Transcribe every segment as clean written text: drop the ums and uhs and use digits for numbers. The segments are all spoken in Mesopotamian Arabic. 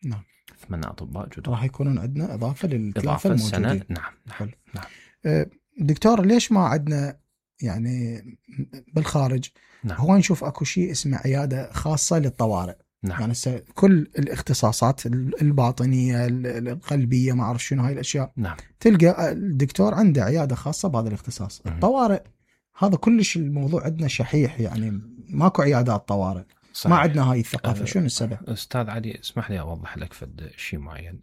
نعم. 8 أطباء جدد راح يكونون عندنا إضافة للثلاثة إضافة السنة. الموجودين. نعم. حلو. نعم. دكتور ليش ما عندنا يعني بالخارج نعم. هو نشوف اكو شيء اسمه عيادة خاصة للطوارئ. نعم. يعني كل الاختصاصات الباطنية القلبية ما أعرف شنو هاي الأشياء. نعم. تلقى الدكتور عنده عيادة خاصة بهذا الاختصاص. الطوارئ هذا كلش الموضوع عندنا شحيح، يعني ماكو عيادات طوارئ. صحيح. ما عندنا هاي الثقافة. شنو السبب؟ أستاذ علي اسمح لي أوضح لك فد شيء معين.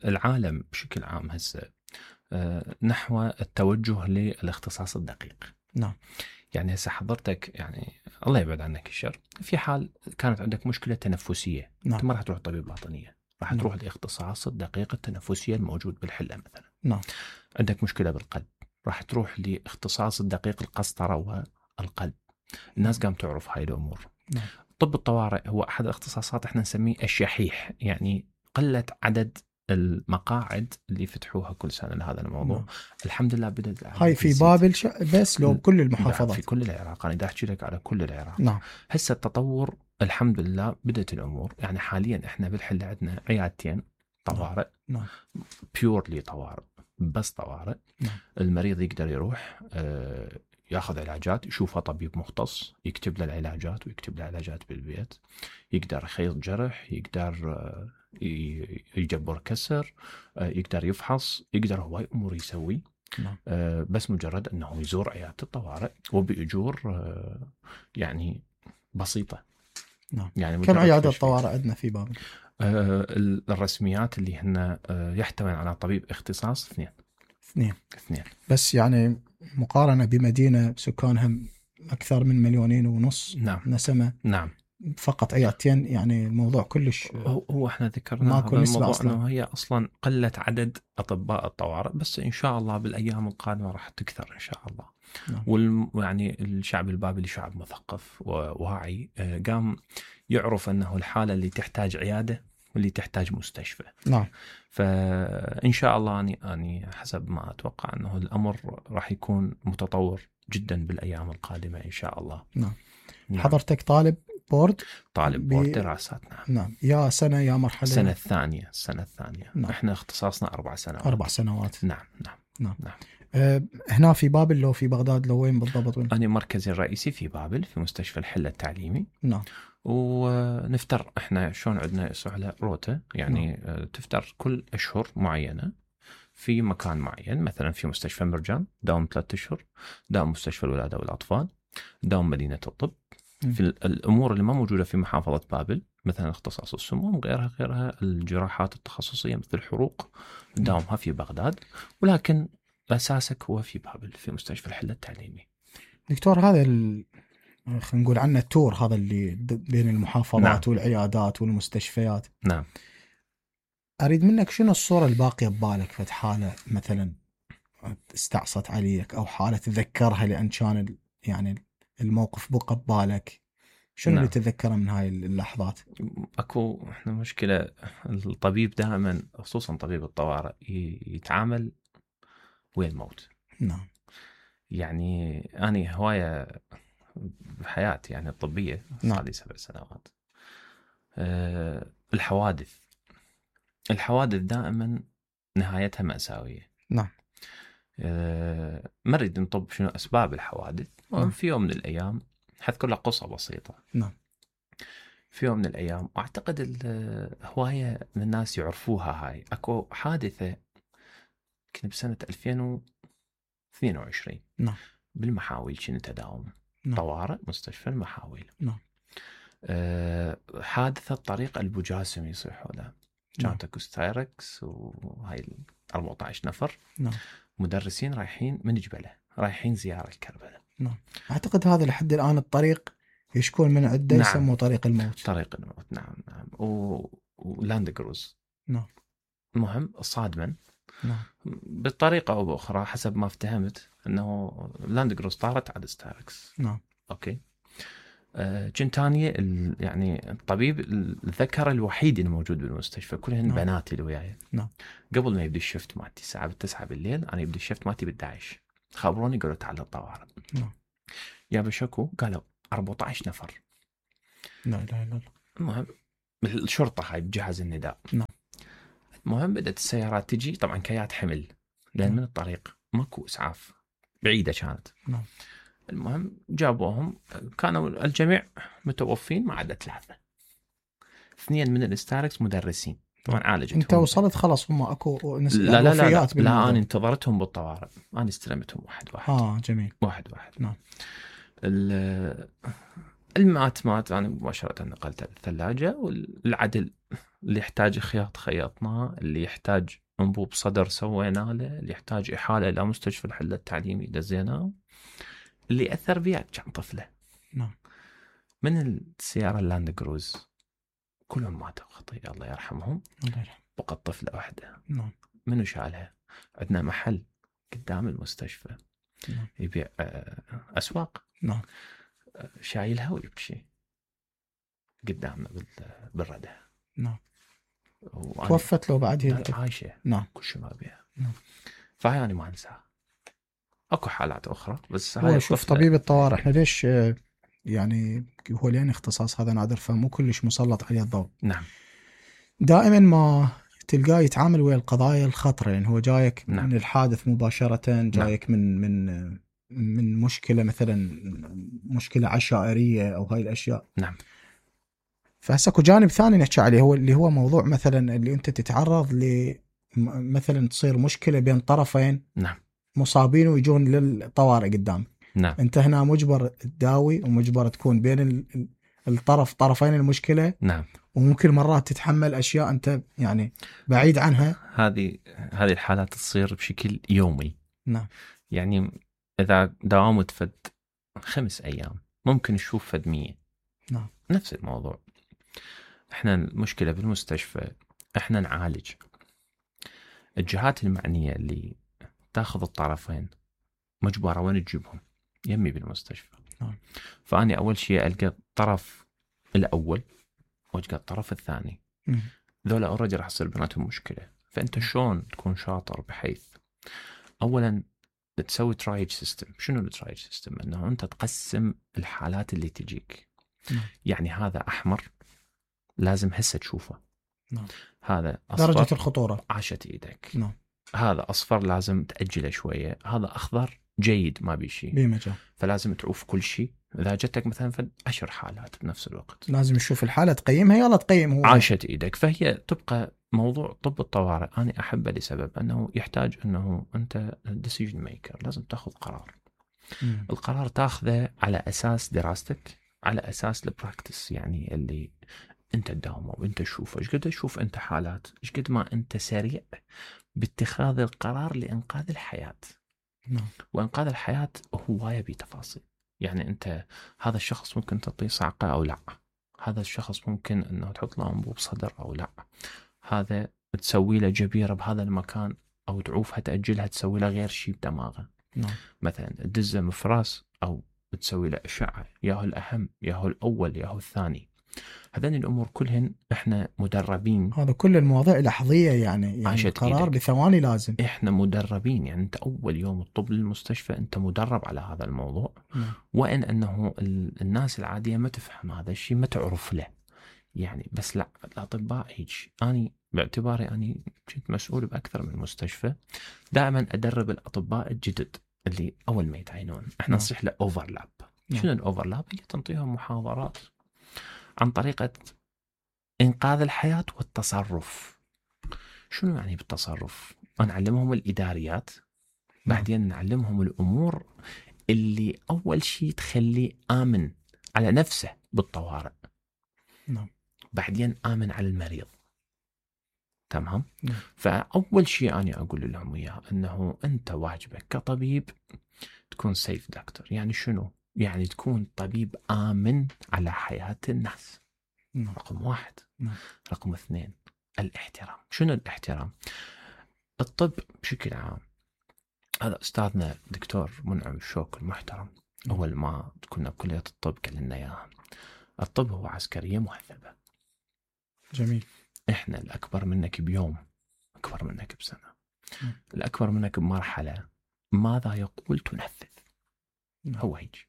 العالم بشكل عام هسه نحو التوجه للاختصاص الدقيق. نعم. يعني هسه حضرتك يعني الله يبعد عنك الشر، في حال كانت عندك مشكلة تنفسية، نعم. أنت ما راح تروح طبيب باطنية، راح نعم. تروح الاختصاص الدقيق التنفسية الموجود بالحلة مثلا. نعم. عندك مشكلة بالقلب، راح تروح لاختصاص الدقيق القسطرة والقلب. الناس قام تعرف هاي الأمور. نعم. طب الطوارئ هو أحد الاختصاصات احنا نسميه الشحيح، يعني قلة عدد المقاعد اللي فتحوها كل سنة لهذا الموضوع. نعم. الحمد لله بدأت هاي في بابل بس لو كل المحافظات؟ في كل العراق. أنا دا أحكي لك على كل العراق. نعم. هسه التطور الحمد لله بدأت الأمور. يعني حاليا إحنا بالحلة عندنا عيادتين طوارئ. نعم. بيورلي طوارئ، بس طوارئ. نعم. المريض يقدر يروح ياخذ علاجات، يشوفه طبيب مختص يكتب له العلاجات ويكتب له علاجات بالبيت. يقدر يخيط جرح، يقدر يجبر كسر، يقدر يفحص، يقدر هواي أمور يسوي. نعم. بس مجرد أنه يزور عيادة الطوارئ وبأجور يعني بسيطة. نعم. يعني كم عيادة طوارئ عندنا في بابل؟ الرسميات اللي هن يحتوي على طبيب اختصاص 2. بس يعني مقارنة بمدينة سكانها أكثر من 2.5 مليون نعم. نسمة. نعم. فقط عيادتين، يعني الموضوع كلش هو احنا ذكرنا هذا الموضوع انه هي اصلا قلة عدد اطباء الطوارئ، بس ان شاء الله بالايام القادمة راح تكثر ان شاء الله. نعم. يعني الشعب البابلي شعب مثقف وواعي، قام يعرف انه الحالة اللي تحتاج عيادة واللي تحتاج مستشفى. نعم. فان شاء الله اني حسب ما اتوقع انه الامر راح يكون متطور جدا بالايام القادمة ان شاء الله. نعم. حضرتك طالب بورد دراسات. نعم. يا سنة يا مرحلة؟ السنة الثانية. نعم. احنا اختصاصنا 4 سنوات. 4 سنوات. نعم. هنا في بابل لو في بغداد لو وين بالضبط؟ وين؟ أنا مركزي الرئيسي في بابل في مستشفى الحلة التعليمي. نعم. ونفتر احنا شلون عندنا على روتا، يعني تفتر كل أشهر معينة في مكان معين. مثلا في مستشفى مرجان داوم 3 أشهر، داوم مستشفى الولادة والأطفال، داوم مدينة الطب. في الأمور اللي ما موجودة في محافظة بابل مثلا اختصاص السموم غيرها الجراحات التخصصية مثل الحروق داومها في بغداد، ولكن أساسك هو في بابل في مستشفى الحلة التعليمي. دكتور هذا خلينا نقول عنه التور هذا اللي بين المحافظات. نعم. والعيادات والمستشفيات. نعم. أريد منك شنو الصورة الباقية ببالك فد حالة مثلا استعصت عليك أو حالة تذكرها لأن كان يعني الموقف بقى ببالك، شنو نعم. اللي تذكره من هاي اللحظات؟ اكو احنا مشكلة الطبيب دائما خصوصا طبيب الطوارئ يتعامل ويا الموت. نعم. يعني أنا هواية بحياتي يعني الطبية صار لي 7 سنوات. الحوادث دائما نهايتها مأساوية. نعم. ما نريد نطب شنو أسباب الحوادث. نعم. في يوم من الأيام حذكر لك قصة بسيطة. نعم. في يوم من الأيام أعتقد الهواية من الناس يعرفوها، هاي أكو حادثة كنت بسنة 2022. نعم. بالمحاويل كنت أداوم. نعم. طوارئ مستشفى المحاويل. نعم. حادثة طريق أبو جاسم يصيحوا له. كانت اكو ستايركس وهاي 14 نفر. نعم. مدرسين رايحين من جبلة، رايحين زيارة الكربلاء. نعم. أعتقد هذا لحد الآن الطريق يشكون من عدة. نعم. يسموه طريق الموت. نعم. ولاند كروز. نعم. المهم صادما. نعم. بطريقة أو بأخرى حسب ما افتهمت أنه لاند كروز طارت على ستايركس. نعم. أوكي. جنتانية يعني الطبيب الذكر الوحيد الموجود بالمستشفى، كلهن نعم. بناتي اللي وياي. نعم. قبل ما يبدي الشفت مالتي الساعة 9 بالليل، أنا يبدي الشفت مالتي 11 خبروني قالوا تعال الطوارئ. نعم. يا بشكو قالوا 14 نفر. لا لا لا. المهم الشرطة هاي بجهاز النداء. نعم. المهم بدأت السيارات تجي، طبعا كيات حمل، لأن نعم. من الطريق ماكو إسعاف، بعيدة كانت. نعم. المهم جابوهم، كانوا الجميع متوفين ما عدا 3. 2 من الاستاركس مدرسين، طبعا عالجتهم. انت وصلت خلاص هم اكو لا لا لا لا, بالموضوع. لا انا انتظرتهم بالطوارئ، انا استلمتهم واحد. جميل. واحد. نعم. المات انا مباشره نقلته للثلاجه، والعدل اللي يحتاج خياط خيطناه، اللي يحتاج انبوب صدر سوينا له، اللي يحتاج احاله الى مستشفى الحله التعليمي دزيناه، اللي اثر بيا كان طفله. نعم. من السياره اللاند كروز كلهم ماتوا خطيه الله يرحمهم، الله يرحمه. بقت طفله واحده. نعم. منو شالها؟ عندنا محل قدام المستشفى نعم. يبيع اسواق. نعم. شايلها ويمشي قدامنا بالردة. نعم. توفت له بعد هيك؟ عايشة. نعم. كل شيء ما بيها. نعم. فهي أنا ما أنساها. أكو حالات أخرى بس هو شوف طبيب الطوارئ إحنا ليش يعني هو لين اختصاص هذا نادر فمو كلش مسلط عليه الضوء. نعم. دائما ما تلقاه يتعامل ويا القضايا الخطرة، يعني هو جايك نعم. من الحادث مباشرة، جايك نعم. من مشكلة مثلا مشكلة عشائرية أو هاي الأشياء. نعم. فهسه اكو جانب ثاني نحكي عليه، هو اللي هو موضوع مثلا اللي انت تتعرض مثلا تصير مشكلة بين طرفين. نعم. مصابين ويجون للطوارئ قدام. نعم. انت هنا مجبر تداوي ومجبر تكون بين طرفين المشكلة. نعم. وممكن مرات تتحمل اشياء انت يعني بعيد عنها. هذه الحالات تصير بشكل يومي. نعم. يعني اذا داومت فد 5 أيام ممكن نشوف فد 100. نعم. نفس الموضوع. احنا المشكلة بالمستشفى احنا نعالج. الجهات المعنية اللي تاخذ الطرفين مجبرة وين تجيبهم؟ يمي بالمستشفى. نعم. فأني أول شيء ألقى الطرف الأول وألقى الطرف الثاني. ذولا أوريدي راح يصير بيناتهم مشكلة. فأنت شلون تكون شاطر بحيث أولا تسوي ترايج سيستم. شنو الترايج سيستم؟ أنه أنت تقسم الحالات اللي تجيك. يعني هذا أحمر لازم هسه تشوفه. نعم. هذا أصفر درجة الخطورة عاشت إيدك. نعم. هذا أصفر لازم تأجله شوية. هذا أخضر جيد ما بيشي بمجال. فلازم تعوف كل شيء. إذا جتك مثلا في 10 حالات بنفس الوقت لازم تشوف الحالة تقيمها، يلا تقيم هو. عاشت إيدك. فهي تبقى موضوع طب الطوارئ أنا أحبه لسبب أنه يحتاج أنه أنت decision maker، لازم تأخذ قرار. القرار تأخذه على أساس دراستك، على أساس البراكتس، يعني اللي أنت تداومه وأنت تشوفه. إيش قد تشوف أنت حالات، إيش قد ما أنت سريع باتخاذ القرار لإنقاذ الحياة. نعم. وإنقاذ الحياة هو يبي تفاصيل. يعني أنت هذا الشخص ممكن تعطيه صعقة أو لا، هذا الشخص ممكن أنه تحط له أنبوب صدر أو لا، هذا تسوي له جبيرة بهذا المكان أو تعوفها تأجلها تسوي له غير شيء بدماغه. نعم. مثلا تدزه مفراس أو تسوي له أشعة، ياهو الأهم ياهو الأول ياهو الثاني. هذين الأمور كلهن إحنا مدربين. هذا كل المواضيع لحظية يعني القرار بثواني لازم. إحنا مدربين، يعني أنت أول يوم الطب للمستشفى أنت مدرب على هذا الموضوع. وإن أنه الناس العادية ما تفهم هذا الشيء، ما تعرف له يعني. بس لا، الأطباء هيك. أنا باعتباري أنا كنت مسؤول بأكثر من مستشفى، دائما أدرب الأطباء الجدد اللي أول ما يتعينون. إحنا نصيح له أوفرلاب. شنو الأوفرلاب؟ هي تنطيهم محاضرات عن طريقة إنقاذ الحياة والتصرف. شنو يعني بالتصرف؟ نعلمهم الإداريات، بعدين نعلمهم الأمور اللي أول شيء تخليه آمن على نفسه بالطوارئ. نعم. بعدين آمن على المريض. تمام؟ فأول شيء أنا أقول لهم إياه أنه أنت واجبك كطبيب تكون سيف دكتور. يعني شنو؟ يعني تكون طبيب آمن على حياة الناس. رقم 1. رقم 2 الاحترام. شنو الاحترام؟ الطب بشكل عام، هذا أستاذنا دكتور منعم الشوك المحترم أول ما كنا بكلية الطب قال لنا إياها. الطب هو عسكرية مهذبة. جميل. إحنا الأكبر منك بيوم، أكبر منك بسنة، الأكبر منك بمرحلة، ماذا يقول تنفذ. هو هيك.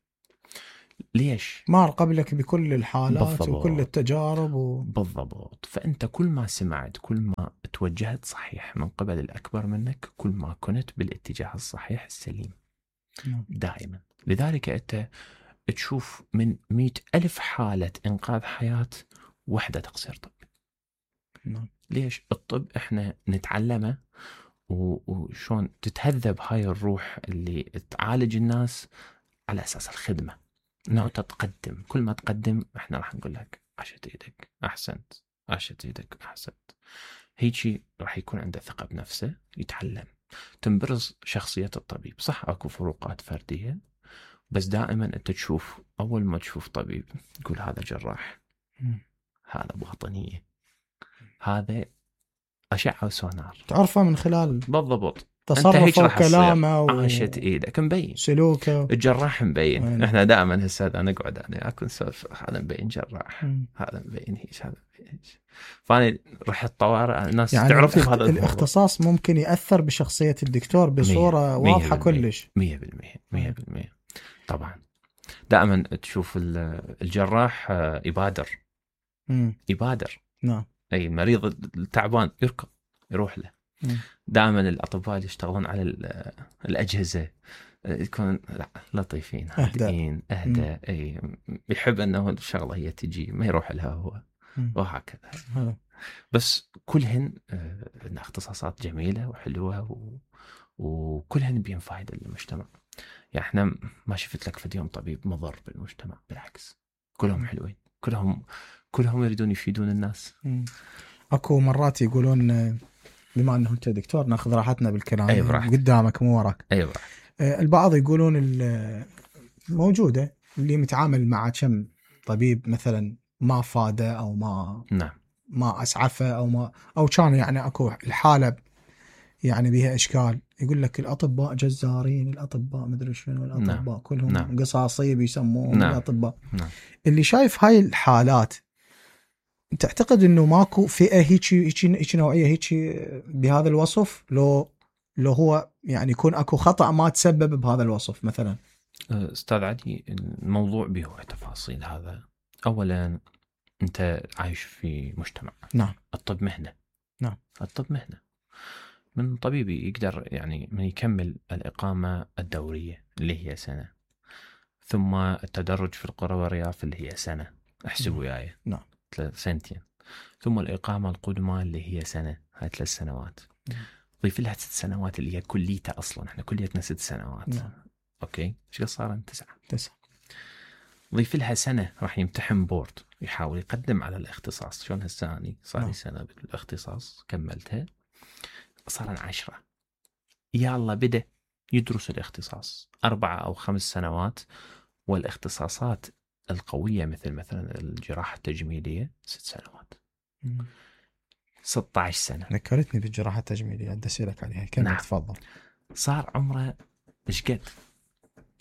ليش؟ مار قبلك بكل الحالات بالضبط. وكل التجارب بالضبط. فأنت كل ما سمعت، كل ما توجهت صحيح من قبل الأكبر منك، كل ما كنت بالاتجاه الصحيح السليم. دائما. لذلك أنت تشوف من 100,000 حالة إنقاذ حياة وحدة تقصير طبي. ليش؟ الطب إحنا نتعلمه وشون تتهذب هاي الروح اللي تعالج الناس على أساس الخدمة، إنه تتقدم. كل ما تقدم إحنا راح نقول لك عشت إيدك، أحسنت، عشت إيدك، أحسنت. هيجي راح يكون عنده ثقة بنفسه، يتعلم، تنبرز شخصية الطبيب. صح أكو فروقات فردية، بس دائما أنت تشوف، أول ما تشوف طبيب تقول هذا جراح، هذا باطنية، هذا أشعة وسونار، تعرفه من خلال بالضبط تصرفه وكلامه عاشت إيدك، مبين سلوكه. الجراح مبين. إحنا دائما هسه نقعد أنا أكون سولف، هذا مبين جراح، هذا مبين هيك، هذا مبين هيك. فأنا رحت طوارئ، الناس يعني تعرفني بهذا الاختصاص ممكن يأثر بشخصية الدكتور بصورة واضحة كلش. 100% طبعا. دائما تشوف الجراح يبادر. نعم. أي المريض التعبان يركض يروح له. دائما الأطباء اللي يشتغلون على الأجهزة يكون لطيفين، هادئين، أهدى. أي يحب أنه الشغلة هي تجي، ما يروح لها هو، وهكذا. بس كلهن اختصاصات جميلة وحلوة وكلهن بين فائدة للمجتمع. يعني احنا ما شفت لك في يوم طبيب مضر بالمجتمع، بالعكس كلهم حلوين، كلهم يريدون يفيدون الناس. اكو مرات يقولون، بما انه انت دكتور ناخذ راحتنا بالكلام، قدامك مو وراك. البعض يقولون موجودة اللي متعامل مع كم طبيب مثلا ما فاده او ما اسعفه او كان يعني اكو الحالة يعني بها اشكال، يقول لك الاطباء جزارين، الاطباء مدري شنو، الاطباء كلهم قصاصية بيسموهم الاطباء. اللي شايف هاي الحالات، تعتقد انه ماكو فئة هيك نوعية هيك بهذا الوصف؟ لو هو يعني يكون اكو خطأ ما تسبب بهذا الوصف مثلا؟ استاذ علي، الموضوع به تفاصيل. هذا اولا انت عايش في مجتمع. نعم. الطب مهنة. نعم. الطب مهنة. من طبيبي يقدر يعني من يكمل الإقامة الدورية اللي هي سنة، ثم التدرج في القرى والرياف اللي هي سنة، احسبوا وياي. نعم. 3 سنتين، ثم الإقامة القدمى اللي هي سنة، هاي 3 سنوات. ضيف لها 6 سنوات اللي هي كليتها أصلا، احنا كليتنا 6 سنوات. نعم. أوكي، ايش صار 9. ضيف لها سنة راح يمتحن بورد، يحاول يقدم على الاختصاص. شلون هالساني صار لي سنة بالاختصاص كملتها، صار 10. يلا بدأ يدرس الاختصاص 4 أو 5 سنوات، والاختصاصات القوية مثلا الجراحة التجميلية 6 سنوات. 16 سنة. ذكرتني بالجراحة التجميلية، بدي أسألك عليها. كم تفضل؟ صار عمره إيش قد؟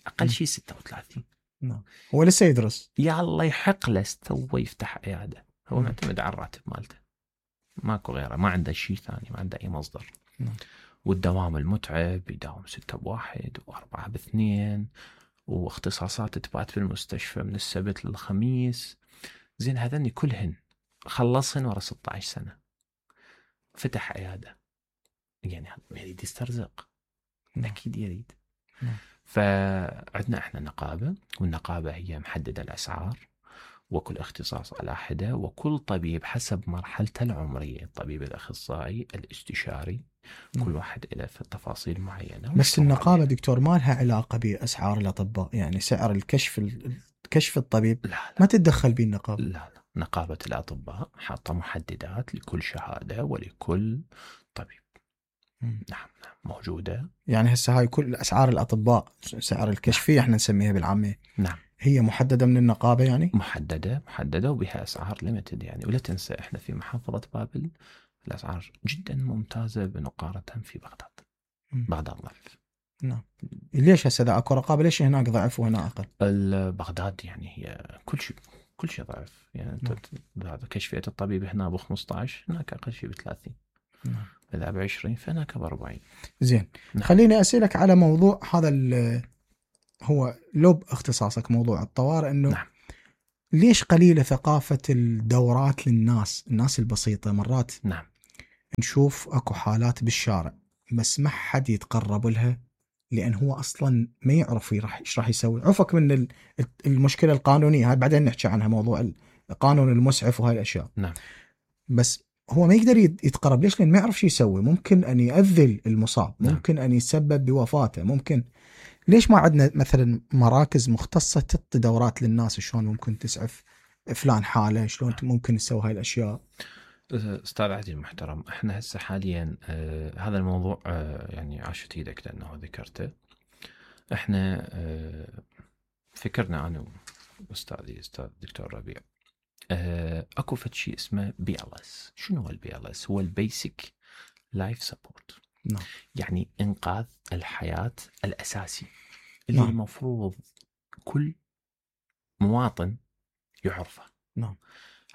أقل شيء 36. نعم. هو لسه يدرس. يا الله يحق له تو يفتح عيادة. هو معتمد على الراتب مالته، ماكو غيره، ما عنده شيء ثاني، ما عنده أي مصدر. والدوام المتعب، يداوم 6 ب1 و4 ب2، واختصاصات تبات في المستشفى من السبت للخميس. زين هذني كلهن خلصهن ورا 16 سنة، فتح عيادة. يعني يريد يسترزق، أكيد يريد. فعندنا احنا نقابة، والنقابة هي محددة الأسعار، وكل اختصاص على حدة، وكل طبيب حسب مرحلته العمرية. الطبيب الأخصائي، الاستشاري، كل واحد له في تفاصيل معينة. بس النقابة دكتور ما لها علاقة بأسعار الأطباء، يعني سعر الكشف الطبيب لا. ما تتدخل به النقابة. لا. نقابة الأطباء حاطة محددات لكل شهادة ولكل طبيب. نعم موجودة. يعني هسه هاي كل أسعار الأطباء، سعر الكشفية احنا نسميها بالعامية. نعم. هي محددة من النقابة يعني؟ محددة وبها أسعار ليميتد يعني. ولا تنسى احنا في محافظة بابل الأسعار جدا ممتازة بمقارنة في بغداد. بغداد ضعف. نعم. ليش هسه اذا اكو رقابة ليش هناك ضعف وهنا أقل؟ بغداد يعني هي كل شيء ضعف يعني. هذا كشفية الطبيب هنا ب 15، هناك أقل شيء ب30. إذا ب20 فهناك ب40. زين. خليني أسألك على موضوع هذا هو لو باختصاصك موضوع الطوارئ انه نعم. ليش قليلة ثقافة الدورات الناس البسيطة؟ مرات نعم. نشوف اكو حالات بالشارع بس ما حد يتقرب لها لان هو اصلا ما يعرف ايش راح يسوي. عفك من المشكلة القانونية، هاي بعدين نحكي عنها، موضوع القانون المسعف وهاي الاشياء. نعم. بس هو ما يقدر يتقرب. ليش؟ لان ما يعرف شو يسوي. ممكن ان يؤذي المصاب، نعم. ممكن ان يسبب بوفاته، ممكن. ليش ما عندنا مثلا مراكز مختصة تعطي دورات للناس شلون ممكن تسعف فلان حالة، شلون ممكن تسوي هاي الاشياء؟ استاذ عادل المحترم، احنا هسه حاليا هذا الموضوع يعني عاشت ايدك لانه ذكرته. احنا فكرنا انا واستاذي استاذ دكتور ربيع اكو فد شيء اسمه BLS. شنو هو BLS؟ هو البيسك لايف سبورت. نعم. يعني انقاذ الحياة الاساسي اللي نعم. المفروض كل مواطن يعرفه. نعم.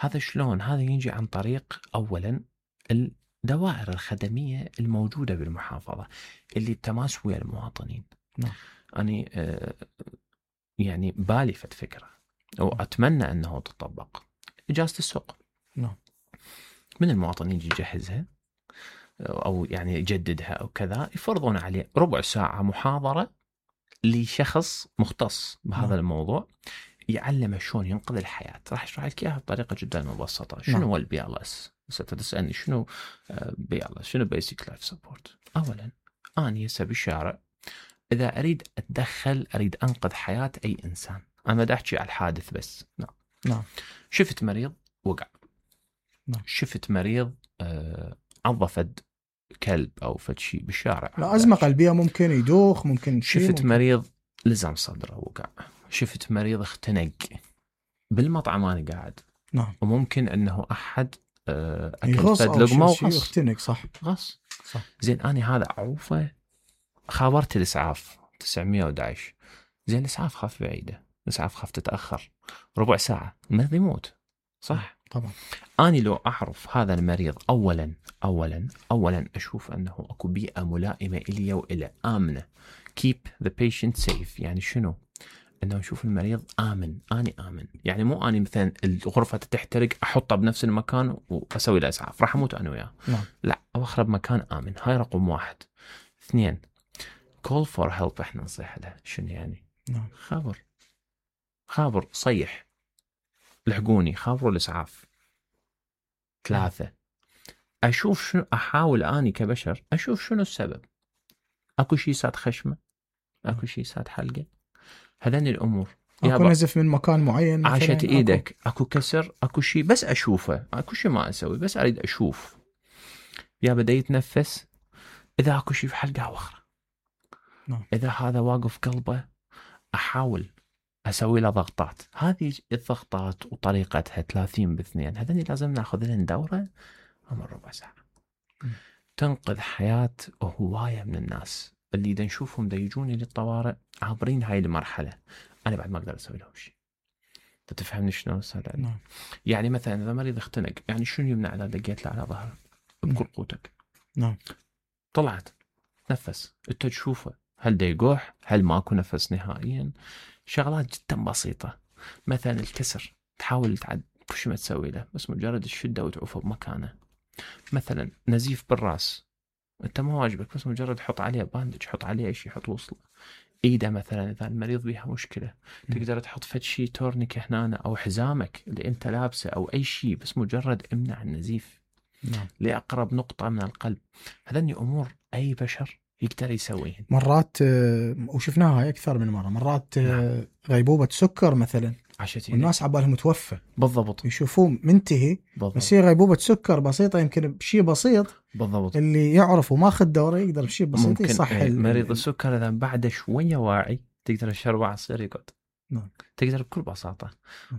هذا شلون؟ هذا يجي عن طريق اولا الدوائر الخدمية الموجودة بالمحافظة اللي بتماس ويا المواطنين. نعم. أنا يعني بالي فد فكرة وأتمنى أنه تطبق. إجازة السوق. نعم. من المواطنين يجي يجهزها أو يعني يجددها أو كذا، يفرضون عليه ربع ساعة محاضرة لشخص مختص بهذا نعم. الموضوع، يعلمه شلون ينقذ الحياة. راح أشرح لك إياها بطريقة جدا مبسطة. شنو هو BLS؟ ستسألني شنو BLS؟ شنو Basic Life Support؟ أولا أنا هسه بالشارع إذا أريد أتدخل، أريد أنقذ حياة أي إنسان، أنا ما أحكي على الحادث بس. نعم. نعم. شفت مريض وقع. نعم. شفت مريض عضفد كلب أو فد شيء بالشارع. لا، أزمة قلبية ممكن يدوخ، ممكن شيء. شفت ممكن. مريض لزم صدره وقع. شفت مريض اختنق بالمطعم أنا قاعد. نعم. وممكن أنه أحد أكل يغص فد أو لقمة شيء وغص. يختنق. صح. غص. صح. زين أنا هذا أعوفه، خابرت الإسعاف 911. زين الإسعاف خاف بعيدة، الإسعاف خاف تتأخر ربع ساعة المريض يموت. صح؟ طبعا. أنا لو أعرف هذا المريض أولا أشوف أنه أكو بيئة ملائمة إلي وإلى آمنة. keep the patient safe. يعني شنو؟ أنه نشوف المريض آمن. أنا آمن. يعني مو أنا مثلا الغرفة تحترق أحطها بنفس المكان وأسوي له إسعاف، راح أموت أنا وياه. نعم. لا، أخرب مكان آمن. هاي رقم واحد. اثنين، call for help. إحنا نصيح له. شنو يعني؟ نعم. خابر صيح لحقوني، خابروا الإسعاف. ثلاثة، أشوف شنو، أحاول أني كبشر أشوف شنو السبب. أكو شيء ساد خشمة، أكو شيء ساد حلقة، هذين الأمور. أكو نزف من مكان معين، عاشت إيدك، أكو كسر، أكو شيء بس أشوفه، أكو شيء ما أسوي بس أريد أشوف. يا بدأ يتنفس، إذا أكو شيء في حلقة أوخر. نعم. إذا هذا واقف قلبه أحاول أسوي له ضغطات. هذه الضغطات وطريقتها 30 ب2. هذني لازم ناخذ لهم دورة عمر ربع ساعة. تنقذ حياة هواية من الناس اللي إذا نشوفهم دا يجوني للطوارئ عابرين هاي المرحلة، أنا بعد ما أقدر أسوي لهم شيء. تفهمني شنو أستاذ؟ نعم. يعني مثلا إذا مريض اختنق، يعني شنو يمنع إذا دقيت له على ظهره بكل قوتك؟ نعم. طلعت نفس، أنت تشوفه هل دا يقوح، هل ماكو نفس نهائيا. شغلات جدا بسيطة. مثلا الكسر، تحاول كل ما تسوي له بس مجرد الشدة وتعوفه بمكانه. مثلا نزيف بالراس، انت ما واجبك بس مجرد حط عليه باندج، حط عليه اي شيء، حط وصله. ايده مثلا اذا المريض بيها مشكلة تقدر تحط فد شيء تورنيك هنا او حزامك اللي انت لابسه او اي شيء، بس مجرد امنع النزيف. نعم. لأقرب نقطة من القلب. هذني امور اي بشر يقدر يسويهن. مرات وشفناها اكثر من مرة. مرات غيبوبة سكر مثلا، والناس عبالهم متوفى. بالضبط. يشوفوه منتهي، بس هي غيبوبة سكر بسيطة، يمكن بشيء بسيط. بالضبط. اللي يعرف وماخذ دورة يقدر بشيء بسيط يصحي. مريض السكر إذا بعد شوية واعي تقدر تشربه عصير يقعد. نعم. تقدر بكل بساطة.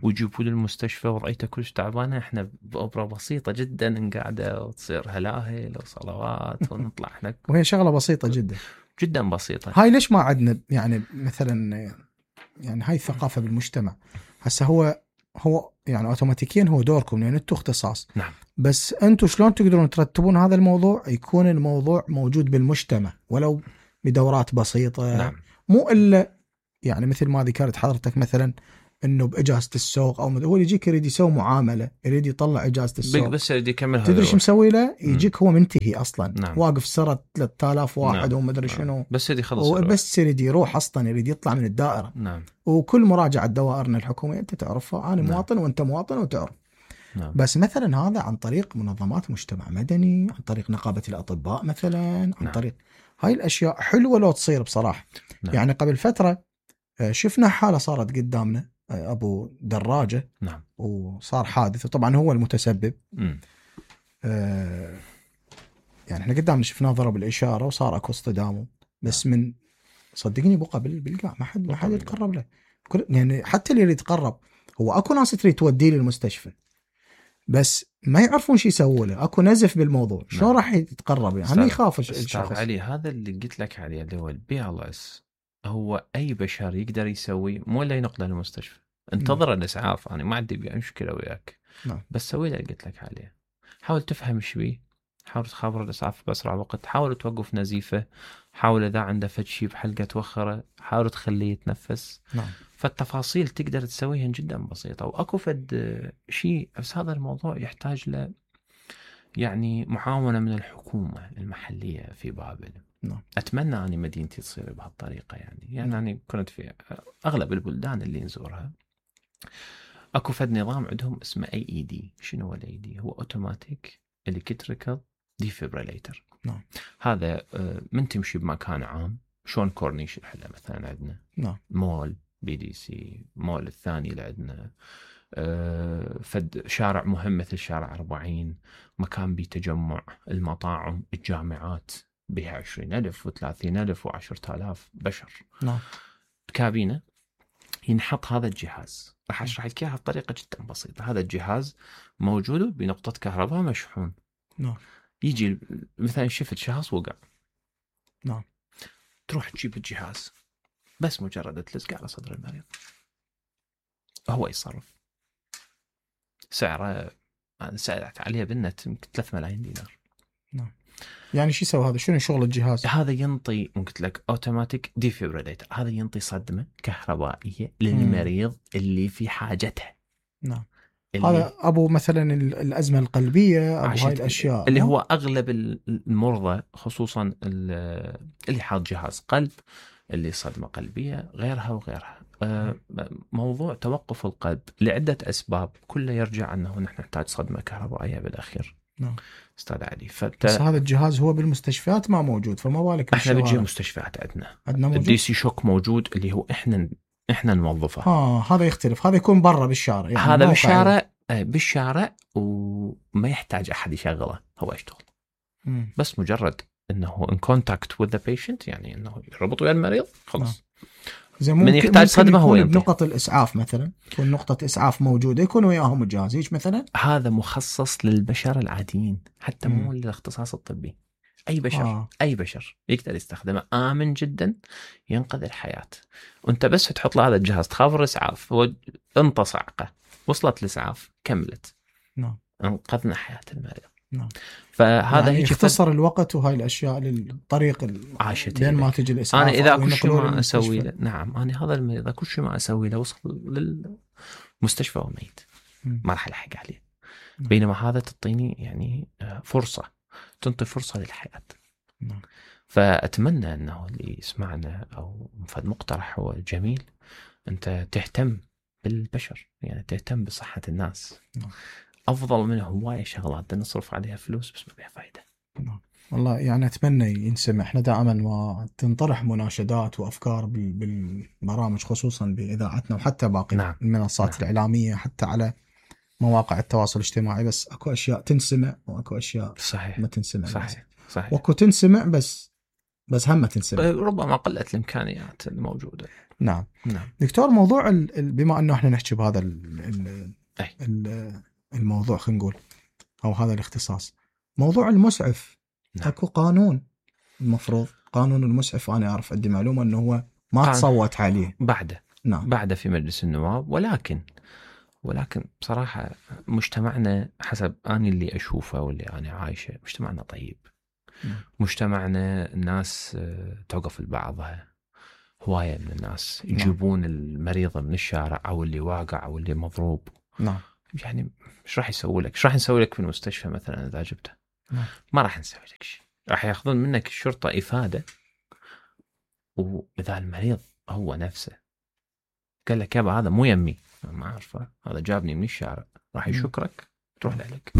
ويجيبوا للمستشفى وضعيته كلش تعبانة، احنا بأوبرا بسيطة جدا نقعده وتصير هلاهل وصلوات ونطلع احنا. وهي شغلة بسيطة جدا جدا بسيطة. هاي ليش ما عندنا يعني مثلا يعني هاي الثقافة بالمجتمع؟ هسه هو يعني اوتوماتيكيا هو دوركم لان انتم اختصاص. نعم. بس انتم شلون تقدرون ترتبون هذا الموضوع يكون الموضوع موجود بالمجتمع ولو بدورات بسيطة؟ نعم. مو الا يعني مثل ما ذكرت حضرتك مثلا انه باجازه السوق او هو يجيك يريد يسوي معامله، يريد يطلع اجازه السوق، بس يريد يكملها. تدري شو مسوي له؟ يجيك هو منتهي اصلا، نعم. واقف سرة 3000 واحد نعم. وما ادري شنو، بس يريد يخلص بس يريد يروح اصلا، يريد يطلع من الدائره. نعم. وكل مراجعه دوائرنا الحكوميه انت تعرفها، انا نعم. مواطن وانت مواطن وتعرف. نعم. بس مثلا هذا عن طريق منظمات مجتمع مدني، عن طريق نقابه الاطباء مثلا، عن نعم. طريق هاي الاشياء حلوه لو تصير بصراحه. نعم. يعني قبل فتره شفنا حاله صارت قدامنا، ابو دراجه. نعم. وصار حادث، وطبعا هو المتسبب. يعني احنا قدامنا شفناه ضرب الاشاره وصار اكو اصطدام، بس من صدقني بقى بالقاع ما حد يتقرب له. يعني حتى اللي يريد يتقرب، هو اكو ناس تريد توديه للمستشفى بس ما يعرفون شو يسووا له، اكو نزف بالموضوع. شلون راح يتقرب؟ يعني يخاف الشخص. علي هذا اللي قلت لك عليه اللي هو الBLS، هو اي بشر يقدر يسوي، مو الا ينقله للمستشفى. انتظر الاسعاف، انا ما عندي مشكله وياك. بس سوي اللي قلت لك عليه. حاول تفهم ايش بيه، حاول تخابر الاسعاف باسرع وقت، حاول توقف نزيفه، حاول اذا عنده فد شيء بحلقه توخره، حاول تخليه يتنفس. فالتفاصيل تقدر تسويها جدا بسيطه، واكو فد شيء. بس هذا الموضوع يحتاج له يعني معاونه من الحكومه المحليه في بابل. اتمنى اني مدينتي تصير بهالطريقه. يعني انا كنت في اغلب البلدان اللي نزورها اكو فد نظام عندهم اسمه AED. شنو هو الAED؟ هو اوتوماتيك الكتريكال ديفيبريليتر. هذا من تمشي بمكان عام، شلون كورنيش الحلا مثلا عندنا، مول BDC، مول الثاني اللي عندنا، فد شارع مهم مثل شارع 40، مكان بتجمع المطاعم، الجامعات بها 20,000 و30,000 و10,000 بشر. كابينة ينحط هذا الجهاز. راح اشرح لك اياها بطريقه جدا بسيطه. هذا الجهاز موجود بنقطه كهرباء مشحون. يجي مثلا شفت شخص وقع، تروح تجيب الجهاز، بس مجرد تلزق على صدر المريض هو يتصرف. سعره انا سألت عليه بالنت يمكن 3 ملايين دينار. يعني شو يسوي هذا؟ شنو شغل الجهاز؟ هذا ينطي، قلت لك اوتوماتيك ديفيبريليتر، هذا ينطي صدمه كهربائيه للمريض اللي في حاجتها. هذا ابو مثلا الازمه القلبيه، ابو هاي الاشياء اللي هو اغلب المرضى، خصوصا اللي حاط جهاز قلب، اللي صدمه قلبيه، غيرها وغيرها. موضوع توقف القلب لعده اسباب، كله يرجع انه نحن نحتاج صدمه كهربائيه بالاخير. استاذ علي. بس هذا الجهاز هو بالمستشفيات ما موجود، فما بالك احنا بنجي مستشفيات عندنا موجود. DC شوك موجود، اللي هو احنا نوظفه. هذا يختلف، هذا يكون برا بالشارع. يعني هذا بالشارع وما يحتاج احد يشغله، هو يشتغل. بس مجرد انه in contact with the patient، يعني انه يربط ويا المريض خلاص. من يحتاج صدمه هو ينطي. بنقطة الإسعاف مثلا، تكون نقطة إسعاف موجودة، يكون وياهم الجهاز هيك مثلا. هذا مخصص للبشر العاديين، حتى مو للاختصاص الطبي. أي بشر أي بشر يقدر يستخدمه، آمن جدا، ينقذ الحياة. وأنت بس تحط له هذا الجهاز، تخابر الإسعاف، هو انطى صعقة، وصلت الإسعاف، كملت، انقذنا حياة المريض. فهذا يعني يختصر الوقت وهاي الأشياء للطريق بين ما تجي الإسعاف. أنا إذا كل شيء ما أسوي له، نعم، أنا هذا المريض كل شيء ما أسوي له وصل للمستشفى وميت، ما راح ألحق عليه. بينما هذا تعطيني يعني فرصة، تنطي فرصة للحياة. فأتمنى أنه اللي يسمعنا أو فد مقترح هو جميل، أنت تهتم بالبشر، يعني تهتم بصحة الناس. أفضل من هواية شغلات نصرف عليها فلوس بس ما بيها فايدة. والله يعني أتمنى ينسمع. إحنا دائما ما تنطرح مناشدات وأفكار بالبرامج، خصوصا بإذاعتنا وحتى باقي المنصات الإعلامية، حتى على مواقع التواصل الاجتماعي. بس أكو أشياء تنسمع وأكو أشياء ما تنسمع. صحيح. وأكو تنسمع بس هم ما تنسمع، ربما قلة الإمكانيات الموجودة. نعم. دكتور، موضوع بما أنه إحنا نحكي بهذا الموضوع، خلينا نقول، أو هذا الاختصاص، موضوع المسعف. أكو قانون، المفروض قانون المسعف، أنا أعرف عندي معلومة أنه هو ما تصوت عليه بعده في مجلس النواب، ولكن بصراحة مجتمعنا حسب أنا اللي أشوفه واللي أنا عايشه، مجتمعنا طيب. مجتمعنا الناس توقف لبعضها، هواية من الناس يجيبون المريض من الشارع أو اللي واقع أو اللي مضروب. نعم. يعني إيش راح يسوي لك؟ إيش راح نسوي لك في المستشفى مثلا إذا جبته؟ نعم. ما راح نسوي لك شيء. راح ياخذون منك الشرطة إفادة، وإذا المريض هو نفسه قال لك يابا هذا مو يمي، ما أعرفه، هذا جابني من الشارع، راح يشكرك تروح لك.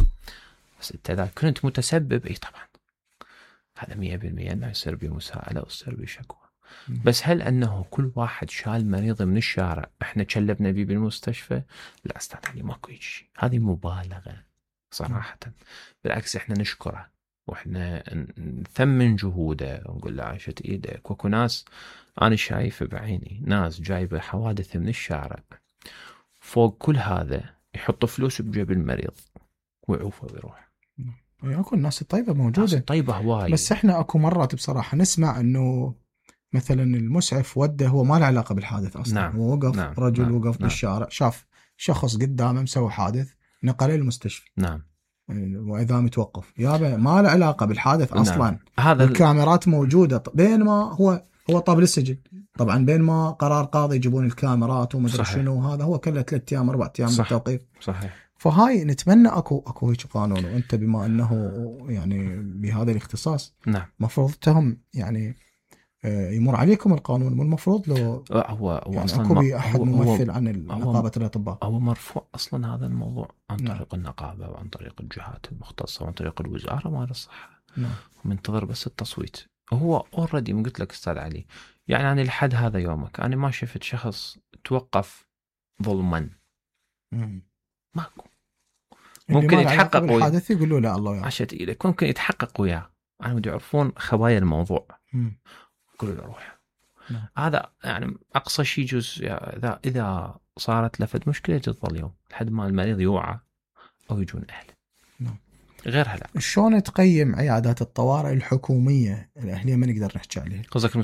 بس أنت إذا كنت متسبب طبعا هذا 100% أنه يصير بمساءلة ويصير بشكوى. بس هل أنه كل واحد شال مريض من الشارع إحنا كلبنا بيه بالمستشفى؟ لا أستاذ علي، ماكو شيء، هذه مبالغة صراحة. بالعكس إحنا نشكره وإحنا نثمن جهوده ونقول له عاشت إيدك. وكو ناس أنا شايف بعيني ناس جايبة حوادث من الشارع، فوق كل هذا يحط فلوس بجيب المريض ويعوفه ويروح. اكو الناس الطيبة موجودة، ناس طيبة هواي. بس احنا اكو مرات بصراحة نسمع انه مثلا المسعف وده هو ما له علاقة بالحادث اصلا. نعم. هو وقف، نعم. رجل نعم. وقف بالشارع، شاف شخص قدامه مسوي حادث، نقله للمستشفى. نعم. واذا متوقف يابا ما له علاقة بالحادث اصلا. نعم. هذا الكاميرات موجودة، بين ما هو طاب للسجن طبعا، بين ما قرار قاضي يجيبون الكاميرات ومدري شنو، هذا هو كله 3 أيام 4 أيام بالتوقيف. صحيح. فهاي نتمنى اكو هيك قانون، وانت بما انه يعني بهذا الاختصاص نعم مفروض تهم يعني يمر عليكم القانون، مو المفروض لو هو يعني اصلا اكو بأحد هو ممثل عن نقابة الأطباء. هو مرفوع اصلا هذا الموضوع عن نعم. طريق النقابة وعن طريق الجهات المختصة وعن طريق الوزارة مال الصحة. نعم. منتظر بس التصويت. هو اوريدي من قلت لك استاذ علي، يعني أنا لحد هذا يومك انا ما شفت شخص توقف ظلما. ماكو. ممكن يتحقق بالحادث يقولوا لا الله يعافيك عشت إيدك، ممكن يتحقق وياه، أنا بدي يعرفون خبايا الموضوع. يقولوا له روح. نعم. هذا يعني أقصى شيء جزء. إذا صارت لفت مشكلة تظل يوم لحد ما المريض يوعى أو يجون أهله. نعم. غيرها لا. شلون تقيم عيادات الطوارئ الحكومية الأهلية ما نقدر نحكي عليها؟ قصدك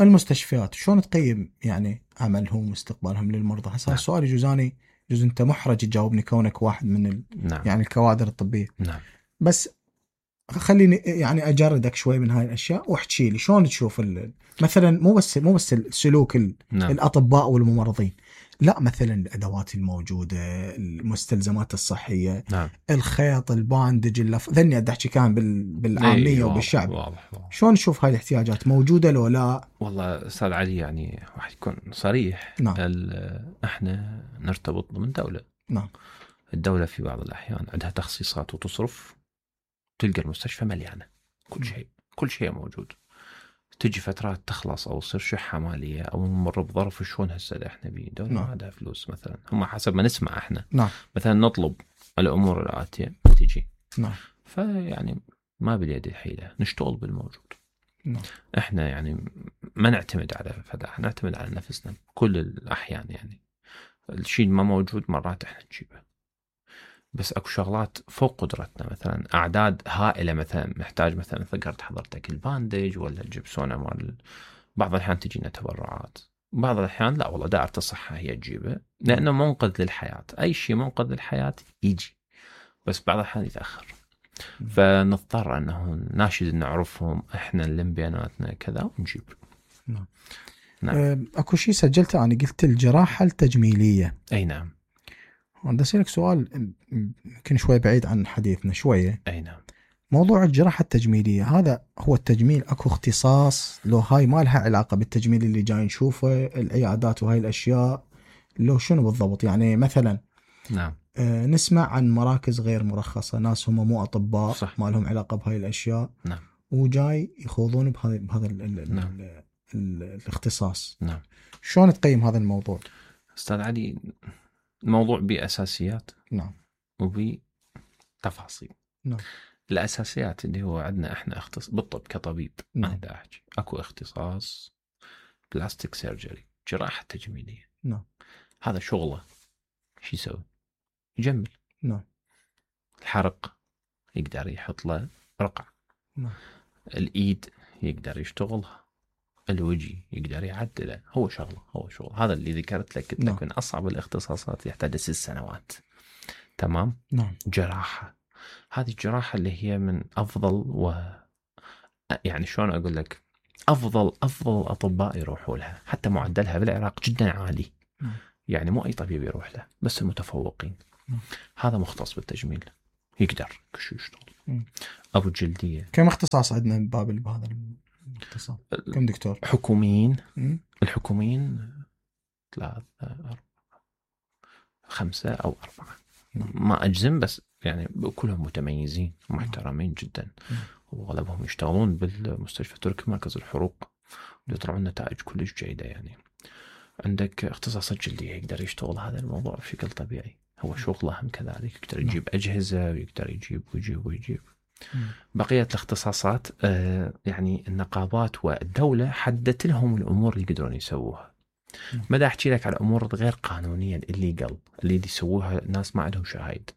المستشفيات شلون تقيم يعني عملهم واستقبالهم للمرضى؟ هسه نعم. السؤال يجوزاني أنت محرج تجاوبني كونك واحد من نعم. يعني الكوادر الطبية. نعم. بس خليني يعني أجردك شوي من هاي الأشياء واحكي لي شلون تشوف مثلا مو بس السلوك نعم. الأطباء والممرضين، لا مثلا الأدوات الموجودة، المستلزمات الصحية. نعم. الخيط، الباندج، ذني أحكي كان بالعامية وبالشعب. واضح. شلون نشوف هاي الاحتياجات موجودة لو لا؟ والله أستاذ علي يعني واحد يكون صريح. نعم. احنا نرتبط ضمن دولة. نعم. الدولة في بعض الأحيان عندها تخصيصات وتصرف، تلقى المستشفى مليانة كل شيء موجود. تجي فترات تخلص أو تصير شحة مالية أو نمر بظرف شلون هسه إحنا بدولة ما عندها فلوس مثلا، هم حسب ما نسمع إحنا. نعم. مثلا نطلب الأمور الآتية تجي. نعم. فيعني ما باليد حيلة، نشتغل بالموجود. نعم. إحنا يعني ما نعتمد على فداح، نعتمد على نفسنا كل الأحيان. يعني الشيء ما موجود مرات إحنا نجيبه، بس اكو شغلات فوق قدرتنا. مثلا اعداد هائله، مثلا محتاج مثلا ذكرت حضرتك الباندج ولا الجبسونه مال، بعض الاحيان تجينا تبرعات، بعض الاحيان لا والله دائره الصحه هي تجيبه لانه منقذ للحياه. اي شيء منقذ للحياه يجي، بس بعض الاحيان يتاخر. فنضطر انه ناشد نعرفهم احنا نلم بياناتنا كذا ونجيب. نعم. نعم. اكو شيء سجلته انا، قلت الجراحه التجميليه. اي نعم. بدي اسالك سؤال يمكن شوي بعيد عن حديثنا شويه. اي نعم. موضوع الجراحه التجميليه هذا هو التجميل، اكو اختصاص لو هاي ما لها علاقه بالتجميل اللي جاي نشوفه العيادات وهاي الاشياء، لو شنو بالضبط؟ يعني مثلا نعم. نسمع عن مراكز غير مرخصه، ناس هم مو اطباء، صح. ما لهم علاقه بهاي الاشياء. نعم. وجاي يخوضون بهذا نعم. الاختصاص. نعم. شلون تقيم هذا الموضوع استاذ علي؟ الموضوع بأساسيات. نعم. وبتفاصيل. نعم. الأساسيات اللي هو عندنا إحنا بالطب كطبيب. نعم. أنا دا أحكي أكو اختصاص بلاستيك سيرجري، جراحة تجميلية. نعم. هذا شغله شو يسوي؟ يجمل. نعم. الحرق يقدر يحط له رقع. نعم. الإيد يقدر يشتغلها، الوجه يقدر يعدله. هو شغل هذا اللي ذكرت لك، قلت لك من أصعب الاختصاصات يحتاج 6 سنوات. تمام. نعم. جراحة، هذه الجراحة اللي هي من أفضل يعني شلون أقول لك، افضل اطباء يروحوا لها، حتى معدلها بالعراق جدا عالي. يعني مو اي طبيب يروح له، بس المتفوقين. هذا مختص بالتجميل يقدر كل يشتغل. ابو الجلديه. كم اختصاص عندنا ببابل بهذا الاختصاص؟ كم دكتور حكوميين؟ الحكوميين 3 4 5 أو 4. ما أجزم، بس يعني كلهم متميزين ومحترمين جدا، وأغلبهم يشتغلون بالمستشفى التركي مركز الحروق، ويطلعون نتائج كلش جيدة. يعني عندك اختصاصات جلدية يقدر يشتغل هذا الموضوع بشكل طبيعي، هو شغله هم كذلك، يقدر يجيب أجهزة ويقدر يجيب ويجيب. بقية الاختصاصات يعني النقابات والدولة حددت لهم الأمور اللي يقدرون يسووها. ما دا أحكي لك على أمور غير قانونية اللي يسووها ناس ما عندهم شهايد.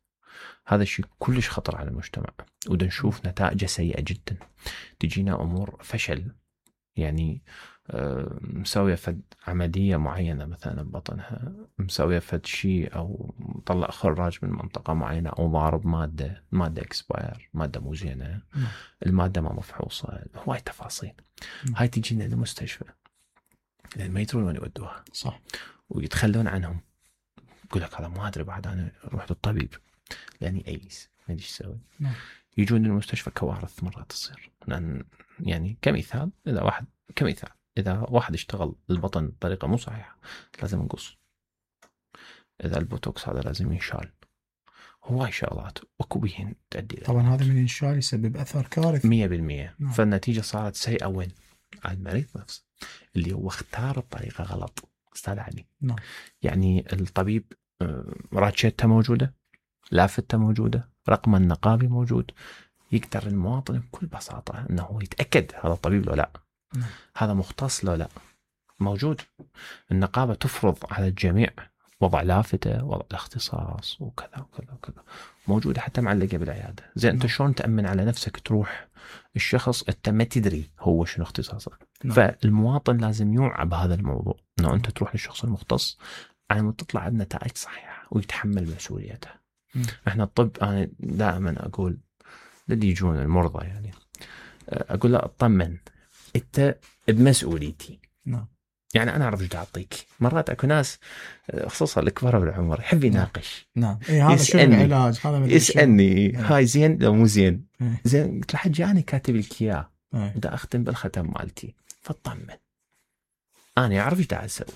هذا الشيء كلش خطر على المجتمع، ودا نشوف نتائجه سيئة جدا. تجينا أمور فشل، يعني مسوية فد عملية معينة مثلا ببطنها، مسوية فد شيء أو طلع خراج من منطقة معينة، أو ضارب مادة اكسباير، مادة مو زينة، المادة ما مفحوصة، هواي تفاصيل. هاي تجينا للمستشفى لأن ما يدرون وين يودوها، صح، ويتخلون عنهم. يقول لك هذا ما أدري، بعد أنا رحت للطبيب لأني أيس ما أدري إيش أسوي. يجون للمستشفى كوارث مرات تصير. لأن يعني كمثال إذا واحد اشتغل البطن بطريقة مو صحيحة لازم نقص. إذا البوتوكس هذا لازم ينشال. هواي شغلات وكوبيهن تؤدي. طبعا هذا من ينشال يسبب أثر كارثي 100%. فالنتيجة صارت سيئة وين؟ على المريض نفسه اللي هو اختار الطريقة غلط. استاذ علي. يعني الطبيب راتشته موجودة، لافتة موجودة، رقم النقابي موجود، يقدر المواطن بكل بساطة أنه يتأكد هذا الطبيب لو لا، هذا مختص لو لا، موجود. النقابة تفرض على الجميع وضع لافتة، وضع الاختصاص وكذا وكذا وكذا، موجودة حتى معلقة بالعيادة. زي أنت شلون تأمن على نفسك تروح الشخص أنت ما تدري هو شنو اختصاصه؟ فالمواطن لازم يوعى بهذا الموضوع، أنه أنت تروح للشخص المختص على ما تطلع بنتائج صحيحة ويتحمل مسؤوليته. احنا الطب أنا دائما أقول للي يجون المرضى، يعني أقول له اطمن أنت بمسؤوليتي. يعني أنا أعرف إيش أعطيك. مرات أكو ناس خصوصا الكبار بالعمر يحب يناقش. إيه هذا شنو العلاج؟ هذا يسألني هاي زين لو مو زين. زين قلت له حجي أنا كاتب لك إياه، بدي أختم بالختم مالتي، فاطمن أنا أعرف إيش أسوي.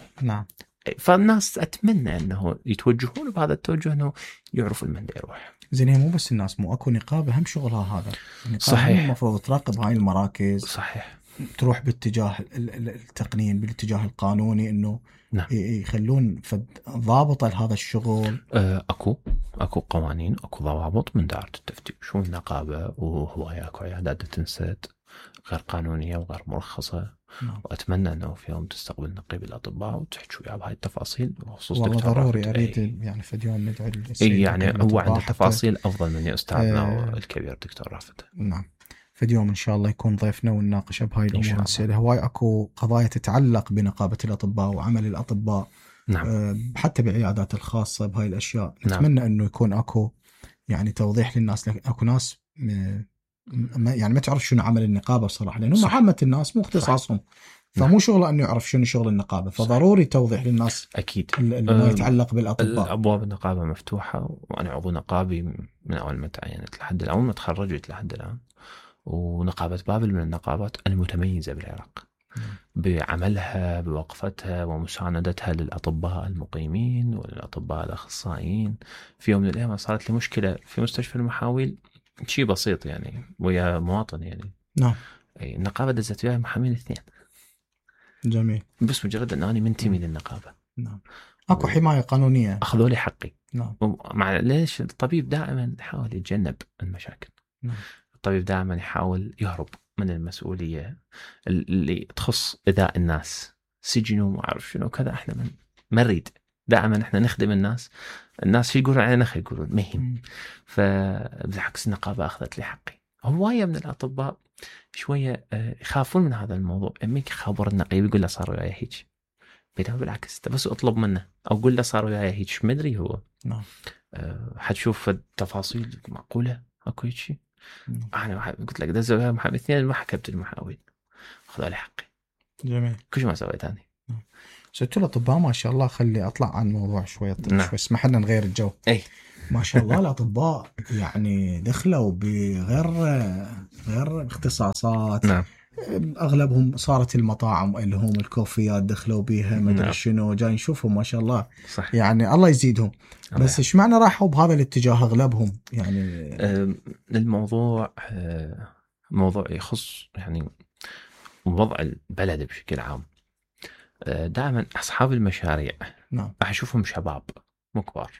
فالناس أتمنى أنه يتوجهون بهذا التوجه، أنه يعرفوا المن يروح. زين هي مو بس الناس، مو أكو نقابة هم شغلها هذا. صحيح. المفروض تراقب هاي المراكز. صحيح. تروح باتجاه التقنين، بالاتجاه القانوني، انه يخلون ضابطه لهذا الشغل. اكو قوانين، اكو ضوابط من دائرة التفتيش والنقابة، وهواي اكو عيادات تنسد غير قانونية وغير مرخصة. واتمنى انه في يوم تستقبل نقيب الاطباء وتحكي وياه بهاي التفاصيل، وخصوص والله ضروري اريد يعني في يوم ندعو السيد يعني هو عنده تفاصيل افضل من استاذنا الكبير دكتور رافد. نعم، في اليوم إن شاء الله يكون ضيفنا ونناقش بهاي الأمور السيدة. هواي أكو قضايا تتعلق بنقابة الأطباء وعمل الأطباء. حتى بالعيادات الخاصة بهاي الأشياء. نتمنى أنه يكون أكو يعني توضيح للناس. أكو ناس يعني ما تعرف شنو عمل النقابة بصراحة، لأنه عامة الناس مو اختصاصهم، فمو شغله أنه يعرف شنو شغل النقابة. فضروري توضيح للناس أكيد ما يتعلق بالأطباء. الأبواب النقابة مفتوحة، وأنا عضو نقابي من أول ما تعينت لحد الآن، ما تخرجت لحد الآن. ونقابة بابل من النقابات المتميزة بالعراق بعملها، بوقفتها ومساندتها للأطباء المقيمين وللأطباء الأخصائيين. في يوم من الأيام صارت لي مشكلة في مستشفى المحاويل، شيء بسيط يعني، ويا مواطن يعني. النقابة دزت وياي محامين 2. جميل. بس مجرد أن أنا منتمي للنقابة. أكو حماية قانونية. أخذوا لي حقي. مع ليش الطبيب دائما يحاول يتجنب المشاكل. الطبيب دائما يحاول يهرب من المسؤولية اللي تخص إذاء الناس، سجن وما أعرف شنو كذا. إحنا ما نريد، دائما إحنا نخدم الناس شو يقولون علينا خير يقولون مهم. فبالعكس النقابة أخذت لي حقي. هواية من الأطباء شوية يخافون من هذا الموضوع. أمك خبر النقيب يقول له صار وياي هيك، بينما بالعكس أنت بس أطلب منه أو قل له صار وياي هيك، ما أدري هو حتشوف التفاصيل معقولة أكو هيك شيء. أنا قلت لك دزوا وياي محاويل 2 ما حكبت المحاويل. خذوا لي حقي. جميل. كل شيء ما سويت ثاني. سألت الأطباء ما شاء الله، خلي أطلع عن الموضوع شوي نعم. شوي، اسمح لنا نغير الجو. أي ما شاء الله الأطباء يعني دخلوا غير اختصاصات. نعم. أغلبهم صارت المطاعم اللي هم الكوفيات دخلوا بيها، ما أدري نعم. شنو، جاي نشوفهم ما شاء الله. صح. يعني الله يزيدهم. بس إيش معنى راحوا بهذا الاتجاه أغلبهم يعني؟ الموضوع موضوع يخص يعني وضع البلد بشكل عام. دائما أصحاب المشاريع نعم راح أشوفهم شباب مو كبار.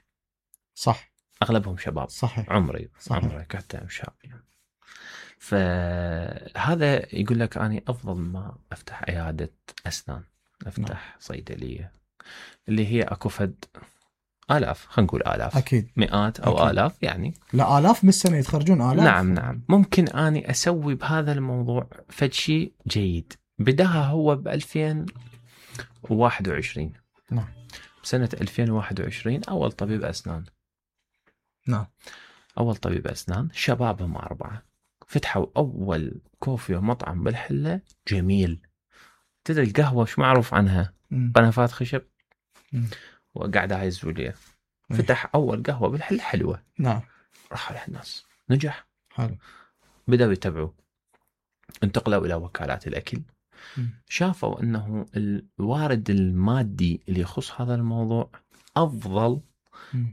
صح. أغلبهم شباب. صحيح. عمري حتى شاب يعني. فهذا يقول لك أنا أفضل ما أفتح عيادة أسنان، أفتح صيدلية اللي هي أكو فد آلاف، خلينا نقول آلاف، أكيد مئات أو أكيد. آلاف يعني. لا آلاف بالسنة يتخرجون آلاف. نعم. ممكن أني أسوي بهذا الموضوع فد شيء جيد. بداها هو ب 2021. نعم. سنة 2021 أول طبيب أسنان. نعم. أول طبيب أسنان، شبابهم 4 فتحوا أول كوفي ومطعم بالحلة جميل. تدري القهوة شو معروف عنها؟ قنفات خشب وقاعد يزوا ليه. فتح أول قهوة بالحلة حلوة. نعم. راحوا لها الناس، نجح. حلو. بدأوا يتبعوا، انتقلوا إلى وكالات الأكل. شافوا أنه الوارد المادي اللي يخص هذا الموضوع أفضل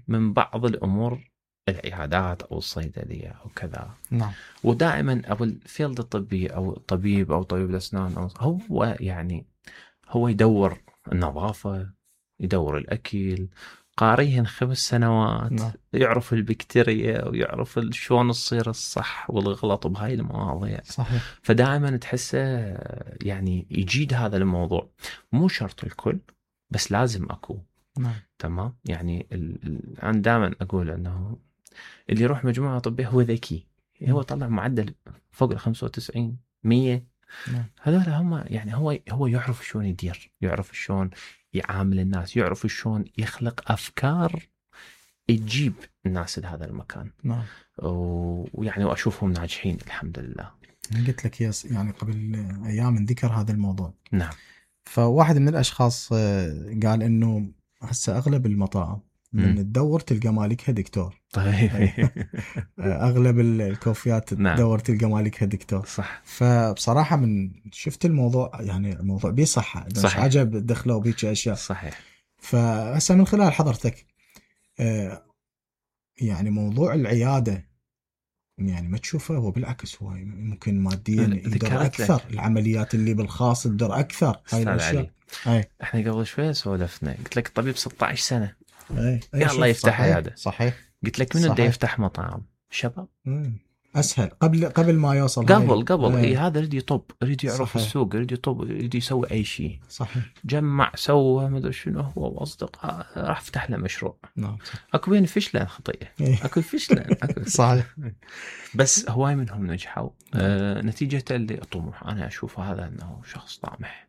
من بعض الأمور، العيادات أو الصيدلية أو كذا. نعم. ودائما أو الفيلد الطبي أو الطبيب أو طبيب الأسنان هو يعني هو يدور النظافة، يدور الأكل، قاريهن 5 سنوات. نعم. يعرف البكتيريا ويعرف شلون تصير الصح والغلط بهاي المواضيع. صحيح. فدائما تحسه يعني يجيد هذا الموضوع. مو شرط الكل بس لازم أكو. نعم. تمام. يعني أنا دائما أقول أنه اللي يروح مجموعة طبية هو ذكي. هو طلع معدل فوق 95 100. نعم. هذول هم يعني هو يعرف شلون يدير، يعرف شلون يعامل الناس، يعرف شلون يخلق أفكار تجيب الناس لهذا المكان. نعم. ويعني وأشوفهم ناجحين الحمد لله. قلت لك يعني قبل أيام ذكر هذا الموضوع. نعم. فواحد من الأشخاص قال إنه هسه أغلب المطاعم من تدور تلقى مالكها دكتور. طيب. أغلب الكوفيات تدور تلقى مالكها دكتور. صح. فبصراحة من شفت الموضوع يعني الموضوع بيه صحة. صحيح. عجب دخلوا بيك أشياء. صحيح. فهسه من خلال حضرتك يعني موضوع العيادة يعني ما تشوفه هو بالعكس هو ممكن ماديا يقدر أكثر، العمليات اللي بالخاص يقدر أكثر. هاي الأشياء. احنا قبل شوية سولفنا، قلت لك الطبيب 16 سنة يا الله يفتح عيادة. صحيح. قلت لك منو بده يفتح مطعم؟ شباب. أسهل قبل ما يوصل قبل هذا يريد يطب، يريد يعرف السوق، يريد يطب، يريد يسوي أي شيء. صحيح. جمع سوى ما أدري شنو هو وأصدقاء راح فتح له مشروع. نعم. أكو بين فشلة خطيئة. أكو فشلة. صحيح. بس هواي منهم نجحوا. نتيجة اللي طموح. أنا أشوف هذا أنه شخص طامح.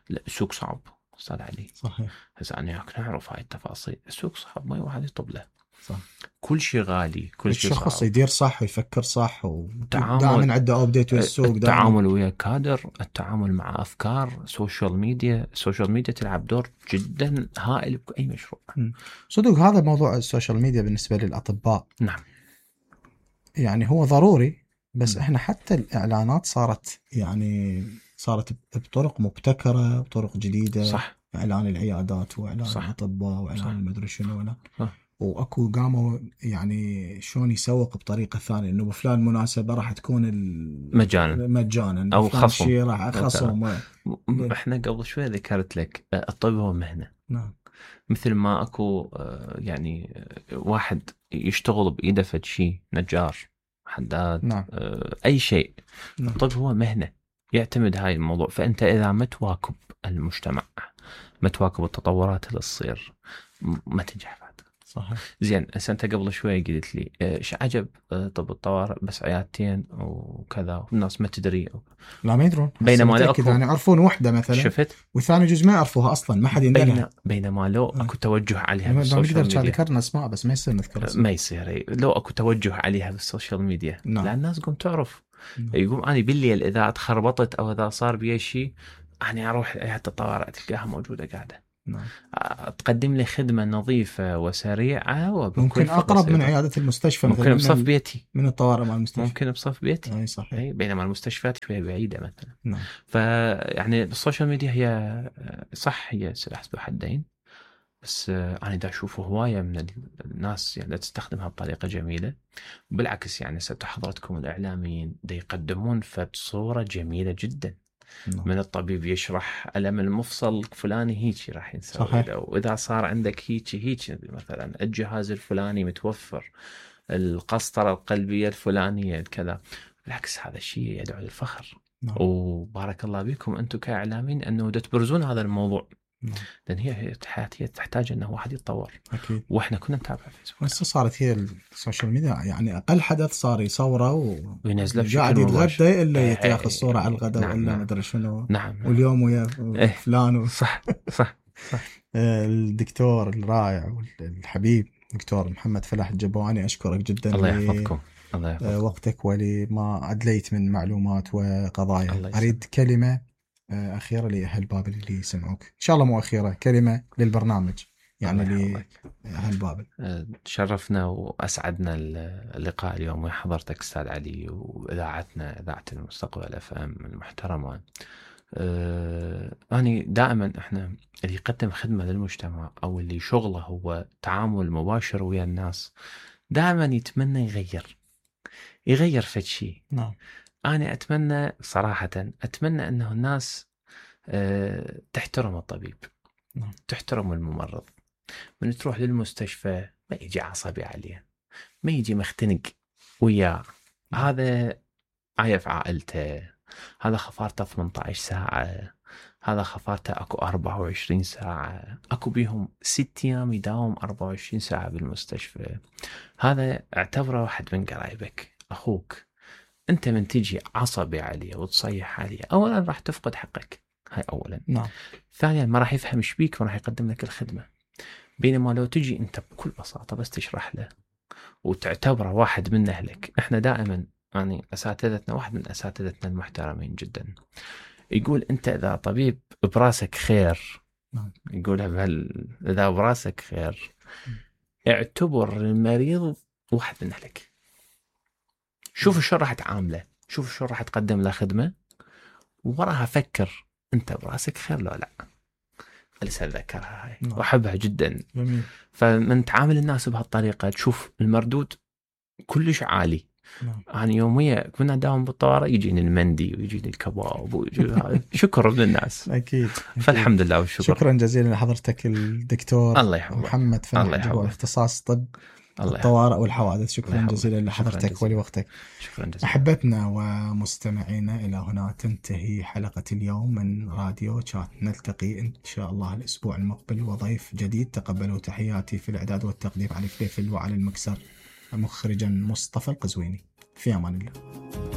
لا السوق صعب أستاذ علي. صحيح. هسه أنا نعرف هاي التفاصيل. السوق صعب، ما واحد يطب له. صح. كل شيء غالي، كل شيء صعب. الشخص يدير صح ويفكر صح ودائما عنده أبديت والسوق. التعامل ويا كادر، التعامل مع أفكار، السوشيال ميديا تلعب دور جدا هائل بأي مشروع. صدق هذا موضوع السوشيال ميديا بالنسبة للأطباء. نعم. يعني هو ضروري بس احنا حتى الإعلانات صارت بطرق مبتكرة، بطرق جديدة. صح. إعلان العيادات وإعلان الأطباء وإعلان المدري شنو وأكو قاموا يعني شلون يسوق بطريقة ثانية إنه بفلان مناسبة راح تكون مجانا أو خصم. راح خصم. إحنا قبل شوي ذكرت لك الطب هو مهنة. نعم. مثل ما أكو يعني واحد يشتغل بإيده فد شيء، نجار، حداد. نعم. أي شيء. نعم. الطب هو مهنة يعتمد هاي الموضوع. فأنت إذا ما تواكب المجتمع، ما تواكب التطورات اللي تصير، ما تنجح بعد. صحيح. زين أنت قبل شوي قلت لي إيش عجب طب الطوارئ بس عيادتين وكذا والناس ما تدري. لا ما يدرون. بينما لو يعني يعرفون واحدة مثلا شفت، وثاني جزء ما يعرفوها أصلا، ما حد يندرها. بينما لو أكو توجه عليها بالسوشيال ميديا. نقدر ذكرنا أسماء بس ما يصير نذكر اسماء. ما يصير. لو أكو توجه عليها بالسوشيال ميديا. نعم. لا الناس قم تعرف يقوم أنا بالليل إذا تخربطت أو إذا صار بي شيء أنا أروح عيادة الطوارئ تلقاها موجودة قاعدة. تقدم لي خدمة نظيفة وسريعة وبكل ممكن أقرب من عيادة المستشفى، ممكن بصف بيتي، من الطوارئ مع المستشفى ممكن بصف بيتي. أي صحيح. بينما المستشفيات شوية بعيدة مثلا. نعم. فيعني السوشيال ميديا هي صح هي سلاح ذو حدين، بس أنا دا أشوفه هواية من الناس يعني تستخدمها بطريقة جميلة. بالعكس يعني حضرتكم الإعلاميين دا يقدمون بصورة جميلة جدا. من الطبيب يشرح ألم المفصل فلاني هيك راح ينسوي له، وإذا صار عندك هيك مثلا الجهاز الفلاني متوفر، القسطرة القلبية الفلانية كذا. بالعكس هذا الشيء يدعو للفخر. وبارك الله بكم أنتم كإعلاميين أنه تبرزون هذا الموضوع. لأن هي حياتية تحتاج أنه واحد يتطور. أكيد. وإحنا كنا نتابع فيسبوك. بس صارت هي السوشيال ميديا يعني أقل حدث صار يصوره وينزله قاعد يتغدى إلا يتاخذ صورة على الغداء. نعم. ولا ما أدري شنو. نعم. واليوم ويا فلان صح صح صح. الدكتور الرائع والحبيب دكتور محمد فلاح الجبواني، أشكرك جدا. الله يحفظكم. الله يحفظكم. وقتك ولما أدليت من معلومات وقضايا. أريد كلمة أخيرة لأهل بابل اللي يسمعوك، إن شاء الله مو أخيرة، كلمة للبرنامج يعني لأهل بابل. تشرفنا وأسعدنا اللقاء اليوم ويا حضرتك أستاذ علي، وإذاعتنا إذاعة المستقبل FM المحترمة. يعني دائما إحنا اللي يقدم خدمة للمجتمع أو اللي شغله هو تعامل مباشر ويا الناس دائما يتمنى يغير في شيء. نعم. أنا أتمنى صراحة أنه الناس تحترم الطبيب. نعم. تحترم الممرض. من تروح للمستشفى ما يجي عصبي عليه، ما يجي مختنق وياه. هذا عايف عائلته، هذا خفارته 18 ساعة، هذا خفارته أكو 24 ساعة، أكو بيهم 6 أيام يداوم 24 ساعة بالمستشفى. هذا اعتبره واحد من قرايبك، أخوك. أنت من تجي عصبي عليه وتصيح عليه، أولا راح تفقد حقك، هاي أولا. نعم. ثانيا ما راح يفهم ايش بيك وراح يقدم لك الخدمة. بينما لو تجي أنت بكل بساطة بس تشرح له وتعتبره واحد من أهلك. إحنا دائما يعني أساتذتنا، واحد من أساتذتنا المحترمين جدا يقول أنت إذا طبيب براسك خير، يقولها إذا براسك خير اعتبر المريض واحد من أهلك. شوف شو راح تعامله، شوف شو راح تقدم له خدمة، ووراها فكر أنت براسك خير لو لا. لسه أتذكرها هاي وأحبها جدا. جميل. فمن تعامل الناس بهالطريقة تشوف المردود كلش عالي. أنا يوميا كنا داوم بالطوارئ يجيني المندي ويجيني الكباب ويجي شكر من الناس. أكيد. فالحمد لله والشكر. شكرا جزيلا لحضرتك الدكتور الله يحفظك. محمد فلاح، اختصاص طب الطوارئ والحوادث. شكرا جزيلا لحضرتك ولوقتك. شكرا جزيلا. أحبتنا ومستمعينا، إلى هنا تنتهي حلقة اليوم من راديو شات. نلتقي إن شاء الله الأسبوع المقبل وضيف جديد. تقبلوا تحياتي في الإعداد والتقديم علي فليفل، وعلى المكسر مخرجا مصطفى القزويني. في أمان الله.